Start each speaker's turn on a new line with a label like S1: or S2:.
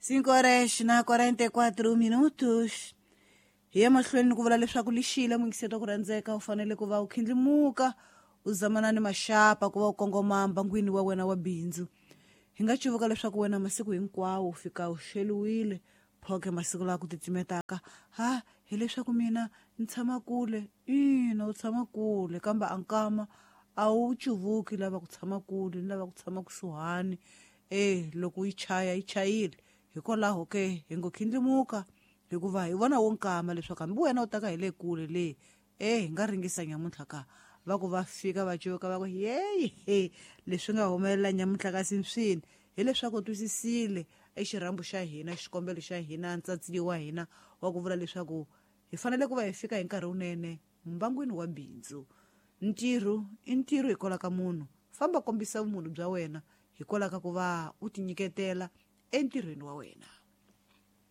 S1: 5 horas na 44 minutos. Hi ya mahlweni ku vula leswaku lixile muyingiseti wa ku rhandzeka, u fanele ku va u khindlimuka u zamana ni maxapa ku va u kongoma mbangwini wa wena wa bindzu. Hi nga cuvuka leswaku wena masiku hinkwawo u fika u xeliwile phoke masiku lawa ku titimetaka. Ha, hileswaku mina ni tshama kule. Ina, u tshama kule, kambe a nkama a wu cuvuki lava ku tshama kule ni lava ku tshama kusuhani. E loko yi chaya yi chayile. Hikwalaho ke hi ngo khindlimuka, hikuva hi vona wo nkama leswaku hambi wena u taka hi le kule le, e hi nga ringisa nyamuntlha ka va ku va fika va cuvuka va ku yeyi, leswi nga humelela nyamuntlha kasi swini, hileswaku u twisisile e xirhambo xa hina, xikombelo xa hina, ntsatsili wa hina wa ku vula leswaku hi fanele ku va hi fika hi nkarhi wunene mbangwini wa bindzu. Ntirho i ntirho hikwalaho ka munhu, famba kombisa vumunhu bya wena hikwalaho ka ku va u tinyiketela entirhweni wa wena.